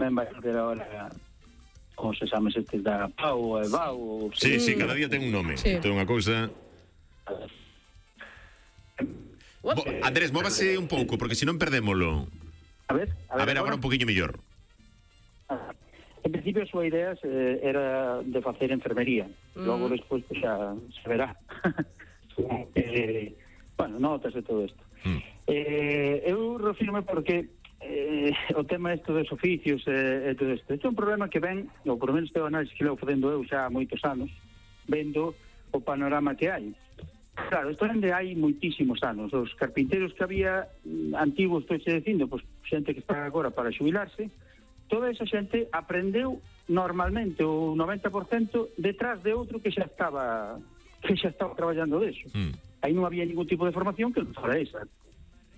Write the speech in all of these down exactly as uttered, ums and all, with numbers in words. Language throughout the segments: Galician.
tamén vai haber ahora os exames estes da PAU e BAU. Sí, sí, cada día ten un nome. Sí. Ten unha cousa... Bo, Andrés, móvase un pouco, porque senón perdémolo. A ver, a ver, A ver agora un poquinho mellor. En principio a súa idea eh, era de facer enfermería. Mm. Logo despois pues, xa se verá. eh, bueno, notas e todo isto. Mm. Eh, eu refirme porque eh, o tema isto dos oficios e eh, todo isto. Isto é un problema que ven, ou por menos teo análise que levo facendo eu xa há moitos anos, vendo o panorama que hai. Claro, isto onde hai moitísimos anos. Os carpinteiros que había antigos, estou xe dicindo, pues, xente que está agora para xubilarse, toda esa xente aprendeu normalmente o noventa por cento detrás de outro que xa estaba que xa estaba traballando deso. Mm. Aí non había ningún tipo de formación que non fora esa.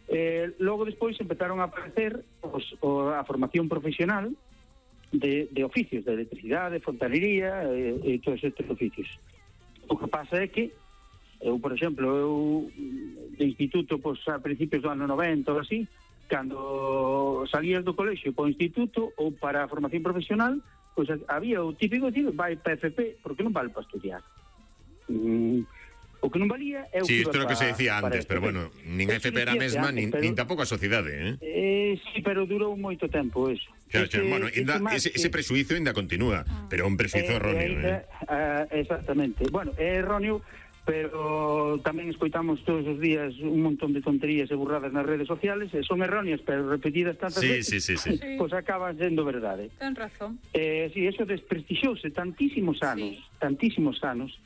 Eh, logo despois empezaron a aparecer os, o, a formación profesional de, de oficios, de electricidade, fontanería e, e todos estes oficios. O que pasa é que eu, por exemplo, eu de instituto, pois, a principios do ano noventa ou así, cando salías do colexio para o instituto ou para a formación profesional, pois había o típico de vai para F P, porque non vale para estudiar. Mm, o que non valía é o sí, que isto é o que se decía antes, pero bueno, nin a F P era a mesma, nin, pero, nin tampouco a sociedade, eh? eh sí, pero durou moito tempo eso. Claro, ese, bueno, inda, ese, ese presuizo ainda continúa, ah. pero é un presuizo eh, erróneo, eh? Uh, exactamente. Bueno, é erróneo, pero tamén escoitamos todos os días un montón de tonterías e burradas nas redes sociales, e son erróneas, pero repetidas tantas sí, veces, sí, sí, sí. pois pues acaban sendo verdade. Ten razón. Eh, sí, eso desprestixouse tantísimos anos, sí. tantísimos anos,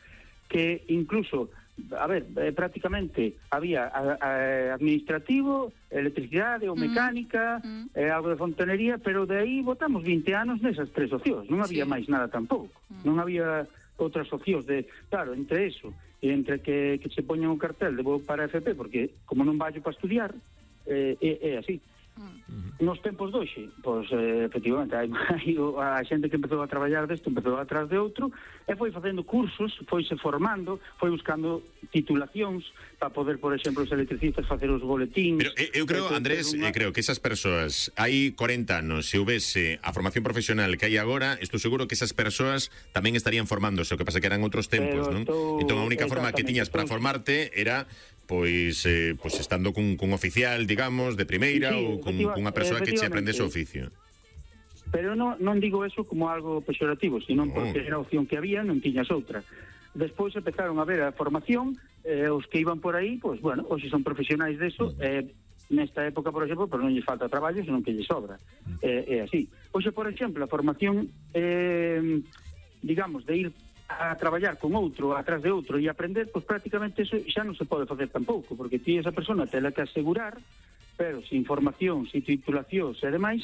que incluso, a ver, eh, prácticamente había a, a, administrativo, electricidade ou mecánica, mm. eh, algo de fontanería, pero de aí botamos vinte anos nesas tres opcións, non había sí. máis nada tampouco, mm. non había outras opcións de, claro, entre eso e entre que, que se poñan un cartel de vou para F P, porque como non vallo para estudiar, eh, é, é así. Uh-huh. Nos tempos doxe, pois, eh, efectivamente, hai, hai a xente que empezou a traballar desto, empezou atrás de outro, e foi facendo cursos, foise formando, foi buscando titulacións para poder, por exemplo, os electricistas facer os boletíns. Pero eu creo, Andrés, unha... creo que esas persoas, hai corenta anos, se houvese a formación profesional que hai agora, estou seguro que esas persoas tamén estarían formándose, o que pasa que eran outros tempos, non? Estou... Entón a única forma que tiñas para formarte era pois eh, pois estando cun, cun oficial, digamos, de primeira, sí, ou con cunha persoa que che aprendese o oficio. Pero non, non digo eso como algo pexorativo, sino no. porque era a opción que había, non tiñas outra. Despois empezaron a ver a formación, eh, os que iban por aí, pois, bueno, hoxe son profesionais deso, uh-huh. eh, nesta época, por exemplo, pero non lles falta traballo, senón que lles sobra. Uh-huh. Eh, é así. Hoxe, por exemplo, a formación, eh, digamos, de ir a traballar con outro, atrás de outro e aprender, pois prácticamente eso xa non se pode facer tampouco, porque ti esa persona tela que asegurar, pero sin formación, sin titulacións e demais,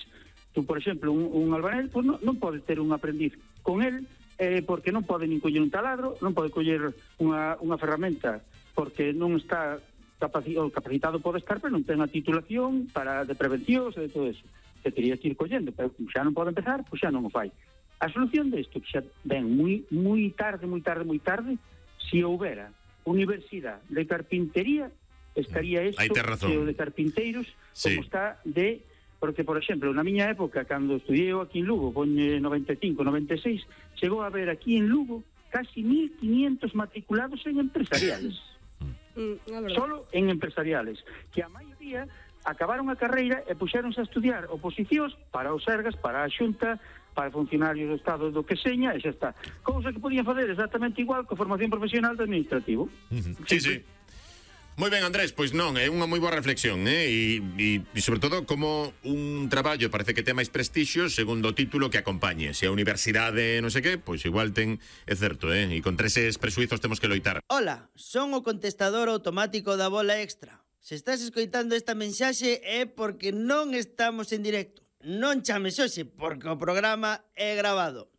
tú, por exemplo, un, un albanel, pois non, non pode ter un aprendiz con el, eh, porque non pode nin coller un taladro, non pode coller unha, unha ferramenta, porque non está capacitado, capacitado pode estar, pero non ten a titulación para de prevencións e de todo eso, que teria que ir collendo, pero xa non pode empezar, pois xa non o fai. A solución desto, que xa ven moi, moi tarde, moi tarde, moi tarde, se houbera universidade de carpintería, estaría isto de carpinteiros, sí. como está de... Porque, por exemplo, na miña época, cando estudiei aquí en Lugo, con noventa e cinco, noventa e seis, chegou a haber aquí en Lugo casi mil quinientos matriculados en empresariales. Mm, Solo en empresariales, que a maioría acabaron a carreira e puxéronse a estudiar oposicións para os Sergas, para a Xunta, para funcionarios do Estado do que seña, e xa está. Cousa que podían fazer exactamente igual que a formación profesional de administrativo. Uh-huh. Sí, sí. Moi ben, Andrés, pois non, é unha moi boa reflexión, eh? E, e, e sobre todo como un traballo parece que ten máis prestixio segundo o título que acompañe. Se a universidade non sei que, pois igual ten, é certo, eh? E contra eses presuizos temos que loitar. Hola, son o contestador automático da Bola Extra. Se estás escoitando esta mensaxe é porque non estamos en directo. Non chames hoxe, porque o programa é grabado.